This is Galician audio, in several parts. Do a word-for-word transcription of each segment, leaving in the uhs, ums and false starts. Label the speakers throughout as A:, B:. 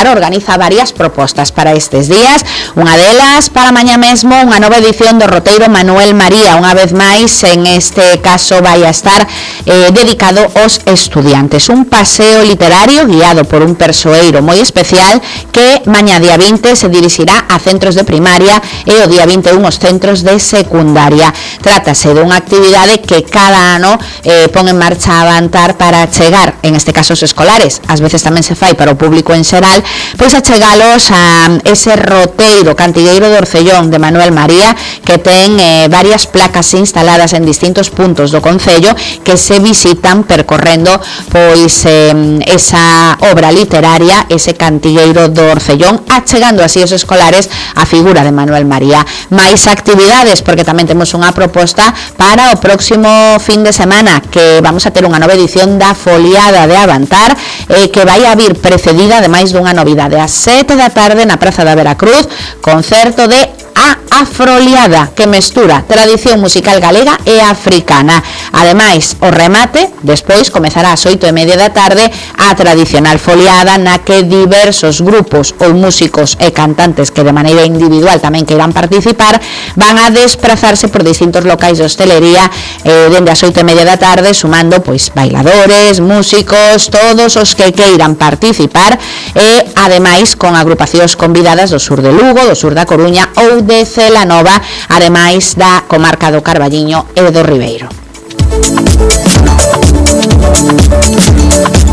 A: claro, organiza varias propostas para estes días. Unha delas, para mañá mesmo, unha nova edición do roteiro Manuel María. Unha vez máis, en este caso, vai a estar eh, dedicado aos estudiantes. Un paseo literario guiado por un persoeiro moi especial que mañá día vinte se dirixirá a centros de primaria e o día vinte e un aos centros de secundaria. Trátase dunha actividade que cada ano eh, pon en marcha a Avantar para chegar, en este caso os escolares, ás veces tamén se fai para o público en xeral, pois a chegalos a ese roteiro Cantigueiro do Orcellón de Manuel María, que ten eh, varias placas instaladas en distintos puntos do concello que se visitan percorrendo pois eh, esa obra literaria, ese Cantigueiro do Orcellón, achegando así os escolares a figura de Manuel María. Mais actividades, porque tamén temos unha proposta para o próximo fin de semana, que vamos a ter unha nova edición da Foliada de Avantar, eh, que vai a vir precedida ademais dunha novidade. Ás sete da tarde na Praza da Veracruz, concerto de A Afroliada, que mestura tradición musical galega e africana. Ademais, o remate despois comezará ás oito e media da tarde a tradicional foliada, na que diversos grupos ou músicos e cantantes que de maneira individual tamén que irán participar van a desplazarse por distintos locais de hostelería eh, dende as oito e media da tarde, sumando pois bailadores, músicos, todos os que queiran participar, e ademais con agrupacións convidadas do sur de Lugo, do sur da Coruña ou de Celanova, ademais da comarca do Carballiño e do Ribeiro.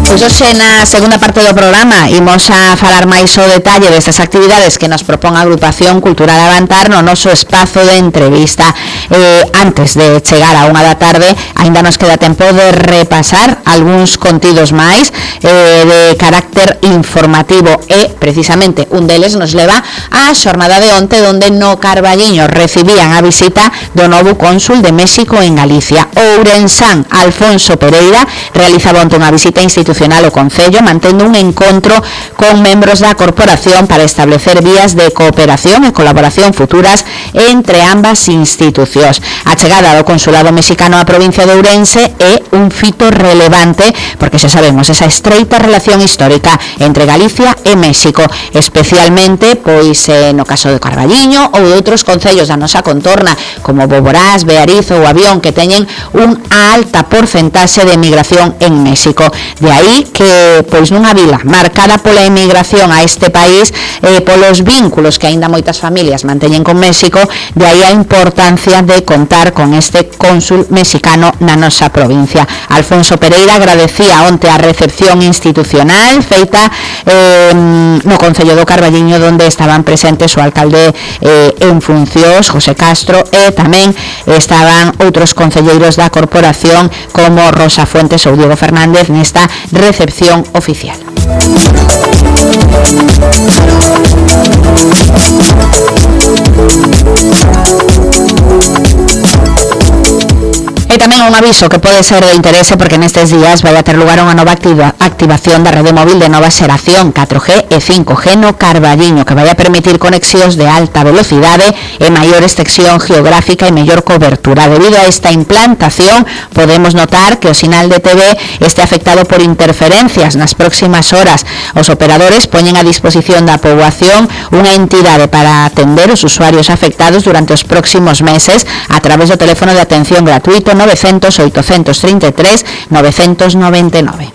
A: Pois hoxe na segunda parte do programa imos a falar máis o detalle destas actividades que nos propón a Agrupación Cultural Avantar no noso espazo de entrevista. Eh, antes de chegar a unha da tarde, aínda nos queda tempo de repasar algúns contidos máis eh, de carácter informativo, e precisamente un deles nos leva á xornada de onte, onde no Carballiño recibían a visita do novo cónsul de México en Galicia. O ourensán Alfonso Pereira realizaba onte unha visita institucional ao Concello, mantendo un encontro con membros da corporación para establecer vías de cooperación e colaboración futuras entre ambas institucións. A chegada do consulado mexicano á provincia de Ourense é un fito relevante, porque xa sabemos esa estreita relación histórica entre Galicia e México, especialmente pois eh, no caso de Carballiño ou de outros concellos da nosa contorna, como Boborás, Beariz ou Avión, que teñen unha alta porcentaxe de emigración en México. De aí que, pois nunha vila marcada pola emigración a este país, eh, polos vínculos que aínda moitas familias manteñen con México, de aí a importancia de contar con este cónsul mexicano na nosa provincia. Alfonso Pereira agradecía onte a recepción institucional feita eh, no Concello do Carballiño, onde estaban presentes o alcalde eh, en funcións, José Castro, e tamén estaban outros concelleiros da corporación como Rosa Fuentes ou Diego Fernández nesta recepción oficial. E tamén un aviso que pode ser de interese, porque nestes días vai a ter lugar unha nova activa, activación da rede móvil de nova xeración catro G e cinco G no Carballiño, que vai a permitir conexións de alta velocidade e maior extensión geográfica e mellor cobertura. Debido a esta implantación, podemos notar que o sinal de T V este afectado por interferencias nas próximas horas. Os operadores poñen a disposición da poboación unha entidade para atender os usuarios afectados durante os próximos meses a través do teléfono de atención gratuito novecientos, oitocentos treinta e tres, novecentos noventa e nove.